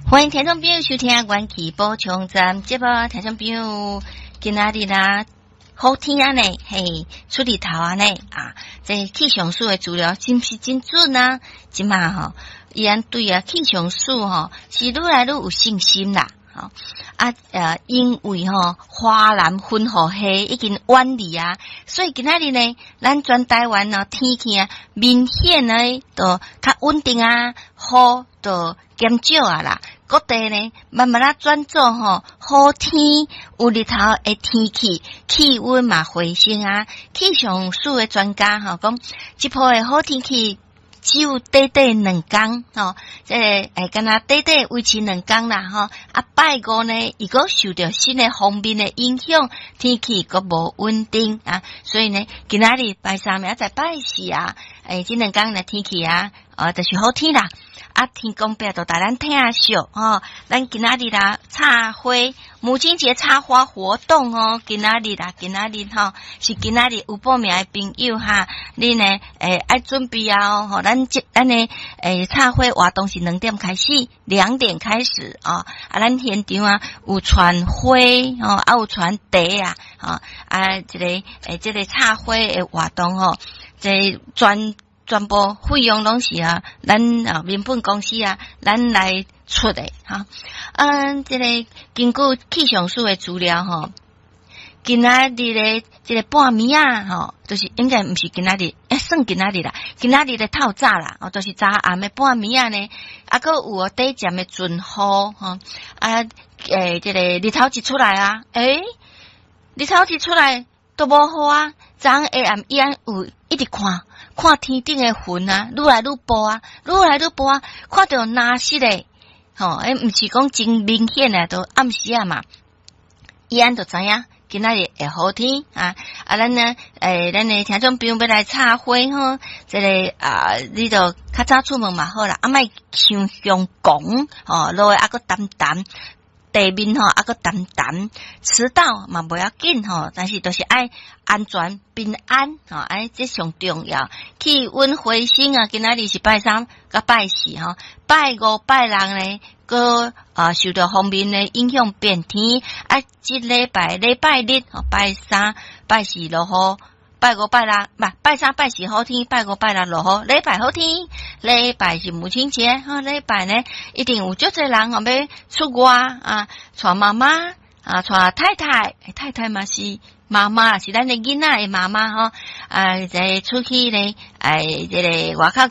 歡迎聽眾朋友收聽《元氣補充站》節目，聽眾朋友今仔日啦，好天按呢，嘿，出日頭按呢啊！這氣象署的資料真是真準啊！這馬吼，伊按對啊，氣象署吼是愈來愈有信心啦。吼啊因為吼華南雲雨系已經遠離啊，所以今仔日呢，咱全台灣哦天氣啊明顯呢都較穩定啊，雨都減少啊啦。各地呢慢慢仔轉做吼好天有日頭的天氣，氣溫嘛回升啊。氣象署的專家吼講，這波的好天氣只有短短2工吼，這個會敢若短短維持兩工啦吼。啊，拜五呢，伊閣受著新的鋒面的影響，天氣閣無穩定啊，所以呢，今仔日拜三明仔載拜四啊，這兩工的天氣啊，就是好天啦。啊，天公伯就共咱疼惜吼，咱今仔日啦插花，母親節插花活動哦，今仔日啦，今仔日吼是今仔日有報名的朋友哈，你呢愛準備啊吼，咱的插花活動是兩點開始，兩點開始啊，啊，咱現場啊有傳花吼，啊有傳茶啊，吼啊，這個插花的活動吼，這全部費用攏是啊，咱啊民本公司啊，咱來出的哈。嗯，這個根據氣象署的資料吼，今仔日的這個半暝仔吼，就是應該毋是今仔日，算今仔日啦，今仔日的透早啦，哦，就是昨暗的半暝仔呢，啊，閣有短暫的陣雨吼，啊，這個日頭一出來啊，日頭一出來都無雨啊，昨下暗伊按有一直看。看天頂的雲啊，愈來愈薄啊，愈來愈薄啊，看著藍色的，吼，毋是講真明顯的，都暗時仔嘛，伊按就知影今仔日會好天啊！啊，咱呢，咱的聽眾朋友欲來插花吼，這個啊，你就較早出門嘛好啦，啊，莫傷凶狂吼，落會猶閣澹澹。地面吼，猶閣澹澹，遲到嘛無要緊吼，但是就是愛安全平安吼，愛這上重要。氣溫回升啊，今仔日是拜三佮拜四吼，拜五拜六呢，閣啊受著鋒面的影響變天。啊，這禮拜禮拜日吼，拜三拜四落雨。拜五拜六，毋拜三拜四好天，拜五拜六落雨。禮拜好天，禮拜是母親節，吼，禮拜呢一定有足濟人吼欲出外啊，帶媽媽啊，帶太太，太太嘛是媽媽，是咱的囡仔的媽媽吼，啊，這出去呢，這個外口。